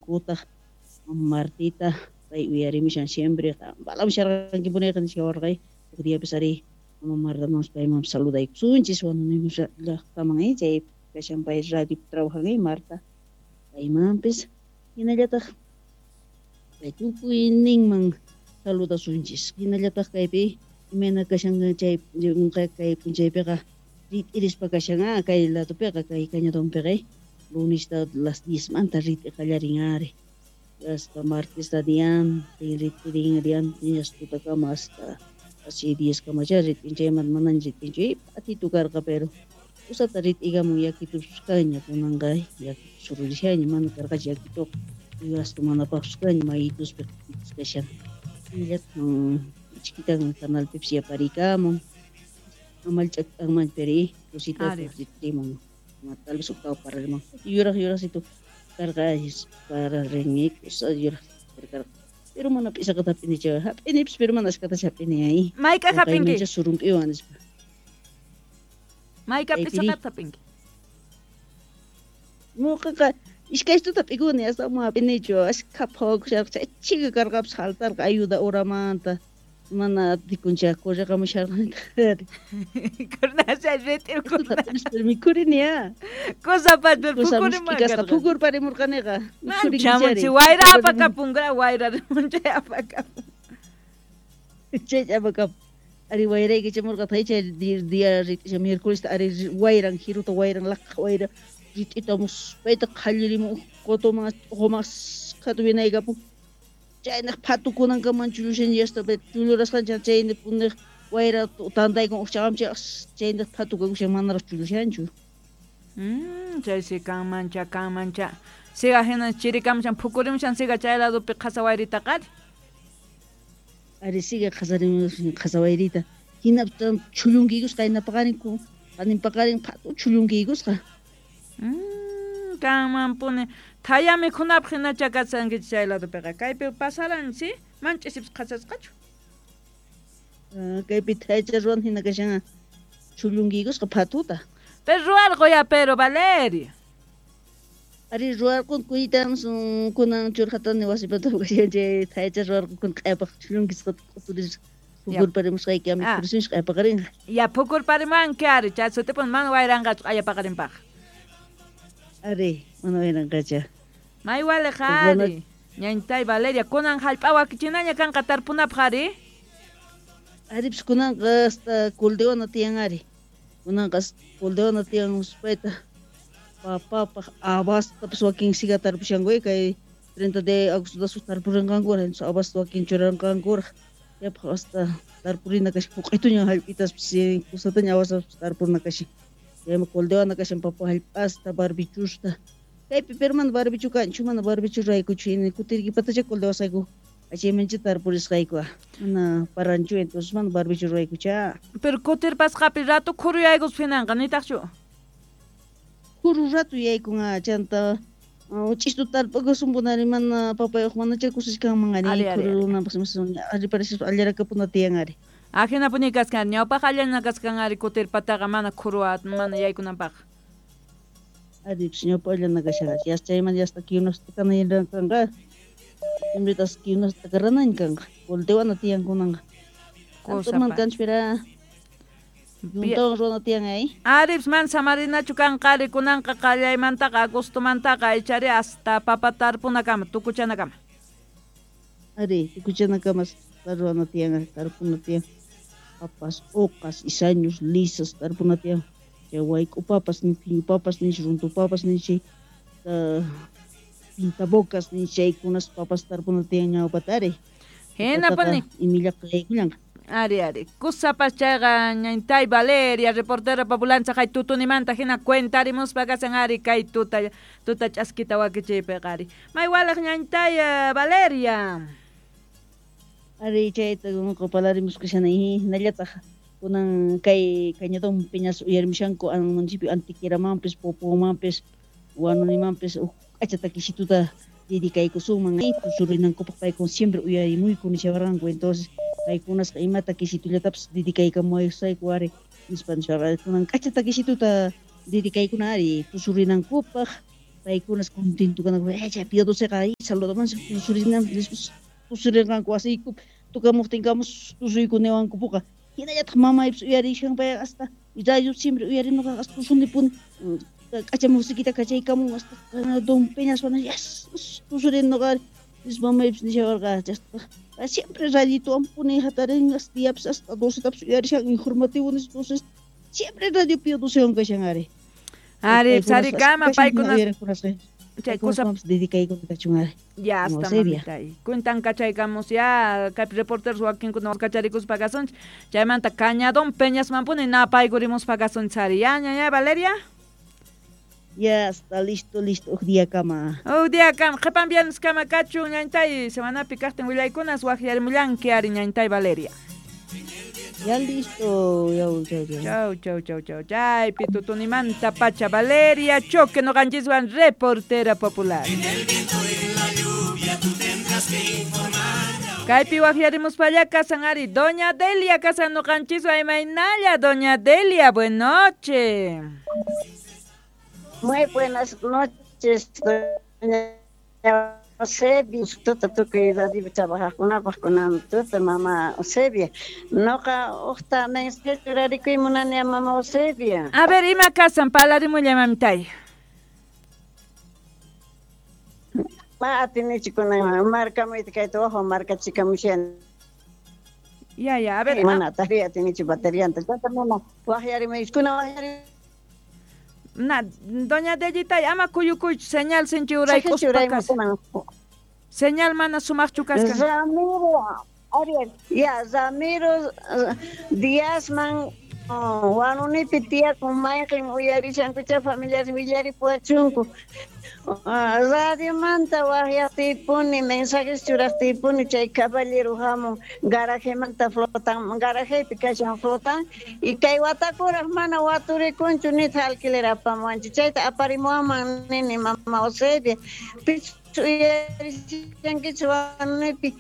Saludashallaykutaq Martita, pay uyarimushan siempre, balamusharqankipuniqa nishawarqay, huk diapis ari mama Martamanpis paymanpis saludaykusunchis, Huanuni llaqtaman chay kashan pay radio trabajan Marta, paymanpis hinallataq kay tukuyninman saludasunchis, hinallataq kaypi imayna kashan chay kay p'unchaypiqa rit'irispa kashan kay ladopiqa kay cañadonpiqa lunesta las 10 manta rit'i qallarin ari, hasta martesta diantin rit'irin diantin hasta tutakama hasta casi 10 kamacha rit'in chaymanta manaña rit'inchu p'atitu karqa pero kusata rit'ikamun yakitupas kaña kunanqa yakitu sururishaña mana karqachu yakituqa uywasta manapaqpis kaña mayituspi kashan hinallataq chiquitan canalpipis yaparikamun amalch'ak'anman pero cosita rit'imun tal vez octavo pararman yuraq yuraqsitu karqa pararin kusa yuraq karqa pero mana p'isaqata hap'inichu hap'inipis pero mana ashkatachu hap'ini ay Mayk'aq hap'inki? Surump'iwan nispa. Mayk'aq p'isaqata hap'inki? Ñuqaqa iskaystuta p'ikuni hasta mana hap'inichu ashkha phawakusharqa chay chika karqapis saltarqa ayuda horamanta mana atikuncha correqamusharqanitaq. Kurna chay rit'irkuna. Mikhurini ya. Kusapas pero phukurimurqani. Kasqa phukurparimurqaniqa. Chamunchi wayra apakapunqa wayra rimunchay apakapun. Chay apakapun. Ari wayrayki chamurqa chay día rit'isha miércoles ari wayran jiruta wayran laqha wayra rit'ita muspayta qhallirimun qutuman t'uquman qhatu winaykapun. Chaynaq phatukunankaman chullushan yasta chullurasqancha chayni puniq wayra tantaykun uqchaqamchay chaynaq phatukakushan manaraq chullushanchu. Chaysi kanmancha kanmancha. Siga hina chirikamushan phukurimushan siga chay ladopi qhasa wayrita qari. Ari siga qhasarimushan qhasa wayrita. Hina chullunkiykusqa qayna paqarin qanin paqarin phatu chullunkiykusqa. Kanmanpuni thaya mikhunapaq hinacha kashankichik chay ladopiqa kaypi pasaran si man ch'isipis qhasasqachu. Kaypi thayacha ruwan hina kashan chullunkiykusqa phatuta. Pero ruwarqu ya pero Valeria. Ari ruwarqun kuytams kunan churqatani wasipata kashan chay thayacha ruwarqun q'ayapaq chullunkisqa q'uturis phukurparimusqayki mikhurisunchik q'ayapaqarinqa. Ya phukurparimanki ari chay sutipun mana wayranqachu q'ayapaqarinpaq. Ari mana wayranqacha. May waliq ari. Ñañtay Valeria kunan hallp'a wakichinaña kanqa tarpunapaq ari. Aripis kunanqa hasta kuldewana tiyan ari. Kunanqa kuldewana tiyan uspayta papapaq abastapas wakin siga tarpushanku kay 30 de agosto tarpurinqankuraq entonces abasta wakin churanqankuraq yapaq hasta tarpurina kashan huq'ituña hallp'itaspas kusataña abastapas tarpurina kashan. Chaymi kuldewana kashan papa hallp'asta barbichusta. Kaypi pero mana barbichu kanchu mana barbichu raykuchu hina kutirkipatacha kuldewasqayku chaymancha tarpurisqayku mana paranchu entonces mana barbichu raykucha. Pero kutirpasqapi rato khuru yaykuspa hinanqa nitaqchu? Khuru rato yaykun chanta ch'istu tarpukusunpunari mana papayuq manacha kusiskanman ari khurunanpaq ari parispa allarakapuna tiyan ari. Ajinapuni kaskan ñawpaq allana kaskan ari kutirpataqa mana khuru mana yaykunanpaq. Ari ñawpa allana kashan yas chayman yasta kiunas t'akanayrankanqa imritas kiunas t'akaranañ kanqa kultiwana tiyan kunanqa. Kanturman kanchpira yuntawan ruwana tiyan ay. Aripis mana samarinachu kanqa ari kunanqa qallaymantaqa agostomantaqa ichari hasta papa tarpunakama tukuchanakama. Ari tukuchanakama ruwana tiyan tarpuna tiyan papas uqas isañus lisas tarpuna tiyan. Chay wayk'u papas ni phiñu papas ni runtu papas ni chay pintabocas ni chaykunas papas tarpuna tiyan ñawpata ari. Hinapuni imillaqa yaykullanqa. Ari ari kusapas chayqa ñañtay Valeria reportera populancha hay tutunimanta hina cuentarimuspa kasan ari kay tuta tuta ch'askita wakichiypiqa ari. May walaq ñañtay Valeria. Ari chayta ñuqa palarimusqa hinallataq kunan kay cañadón piñas uyarimushanku municipio Antiqueramanpis Popomanpis Huanunimanpis huk k'acha takisituta dedicaykusunman tusurinankupaq paykuna siempre uyarimuyku nishawarqanku entonces paykunasqa ima takisitullatapis dedicaykamuwasayku ari nispa nishawarqanku kunan k'acha takisituta dedicaykuna ari tusurinankupaq Paykunas contento kananku, chay Pío Doceqa saludaman tusurinam tusurirqanku wasiykupi tukamuqtinkamus tusuykunewankupuqa. Hinallataq mamaypis uyarishan payqa hasta radio siempre uyarinuqa hasta tusunipuni k'acha musiquita kachaykamun hasta Don Peñaswan yas tusurinuqa mamaypis nishawarqa chasta siempre radiowan puni hatarin hasta diapis hasta 12tapis uyarishan informativo nis entonces siempre radio Pío Docewan kashan ari. Ari, sarikama paykuna chay kusa dedicaykuna kachun ari. Ya hasta mamita. Cuentan kachaykamos ya kay reporteros wakinkuna kacharikuspa kasunchik. Chaymanta Cañadón Peñasmanpuni napaykurimuspa kasunchik ari. Ya ñaña Valeria. Ya está listo, listo. Uj día kama. Uj día kama. Qhipan viernes kama kachun ñañtay semanapi kaqtin willaykunas waqyarimullanki ari ñañtay Valeria. Ya listo. Chau, chau, chau. Chau, chau, chau, chau. Chaypi tutunimanta pacha Valeria Choque noqanchiswan reportera popular. En el viento, en la lluvia, tú tendrás que informar. Kaypi waqyarimuspalla kasan ari Doña Delia kasan noqanchiswan imaynalla Doña Delia, buenas noches. Muy buenas noches, doña Eusebia, tuta tukuy radio trabajaqkunapaq kunan tuta mama Eusebia. Noqa uqta mensaje churarikuy munani mama Eusebia. A ver, ima kasan palarimulla mamitay. Ma atinichu kunan markamuyta kayta wajo markachikamushan. Ya, ya, a ver. Mana tari atinichu baterianta. Chanta mana waqyarimuykuna waqyari. Na, doña Dellitay, ama kuyukuychu señal sinchi uraykuspa kashan. Señal mana sumaqchu kaskan. Ramiro, Ariel, ya, Ramiro Díazman wanunipi tiyakun mayqin uyarishankucha familiares willaripuwachunku. Radiomanta waqyaqtiypuni mensajes churaqtiypuni chay caballero hamun garajemanta flotan, garajepi kashan flotan y kay watakuraq mana waturikunchu nitaq alquiler apamuwanchu chayta aparimuwanman nini mama Eusebia. Uyarishankichu wanunipi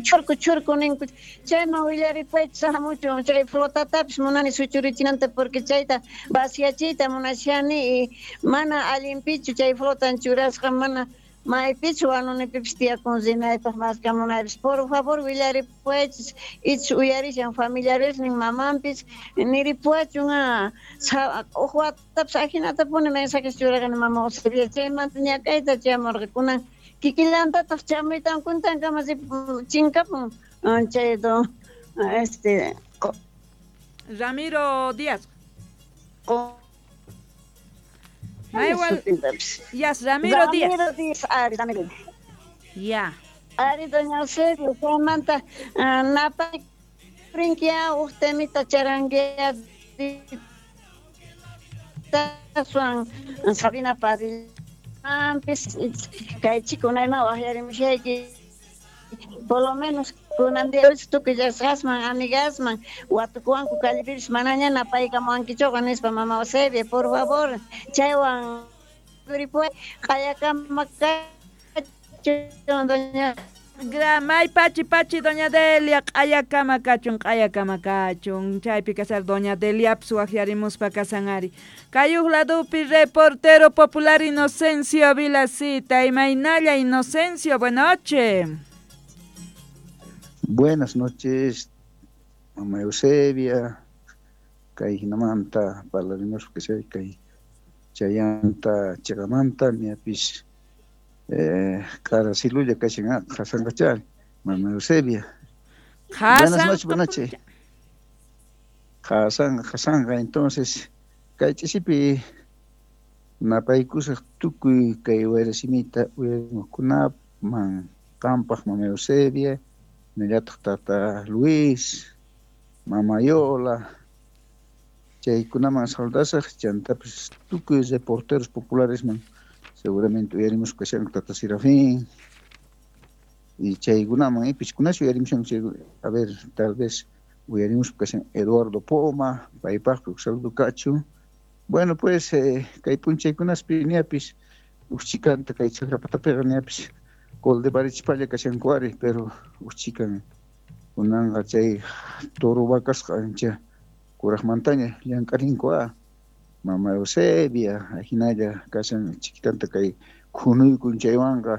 churku churku ninku chayman willaripaychis hamuchun chay flotatapis munani suchurichinanta porque chayta vaciachiyta munashani y mana allinpichu chay flotan churasqa mana maypichu wanunipipis tiyakun rinaypaq maskamunaypis por favor willaripaychis ich uyarishan familiaresnin mamanpis niripuwachun uj watapis ajinatapuni mensajes churaqani mama Eusebia chaymanta ñak'ayta chamurqa kunan kikillantataq chamuytan kuntankama chinkapun chay don este Ramiro Díaz. Igual. Yes, Ramiro Díaz. Ramiro Díaz, ari, Ramiro. Ya. Ari, doña Eusebio, chaymanta napay rinkia uj temita charanguea taswan Sabina Padilla kay chikunayman waqyarimushayki por lo menos kunan día tukuy llasqasman amigasman watukuwanku callipipis manaña napaykamuwankichuqa nispa mama Eusebia por favor chaywan turipuway q'ayakama kachun doña May pachi pachi doña Delia q'ayakama kachun q'ayakama kachun chaypi kasar doña Delia waqyarimuspa kasan ari. Kay uj ladupi reportero popular Inocencio Vilacita imaynalla Inocencio, buenas noches. Buenas noches, mamá Eusebia, kay hinamanta parlarimuspa kashay kay chayanta chiqamanta ñapis karasilulla kashan qasanqachari mamá Eusebia. Buenas noches, buenas noches. Qasanqa entonces kay ch'isipi napaykusaq tukuy kay wayrasimita uyarimuqkunaman qampaq mamá Eusebia nillataq tata Luis, mama Yola, chaykunaman saludasaq chantapis tukuy reporteros popularesman seguramente uyarimus kashan tata Serafín y chaykunaman ipishkunash uyarimushan a ver tal vez uyarimus kashan Eduardo Poma paypaqpi saludo kachu. Bueno pues kay punchaykunaspi ñapis uqchikanta kay chakrapatapiqa ñapis Coldebarichpalla kashankuari pero uqchikan kunanqa chay toro vacasqa ancha kuraqmantaña llank'arinku. Mama Eusebia, ajinalla kashan chiquitanta kay khunuykun chaywanqa.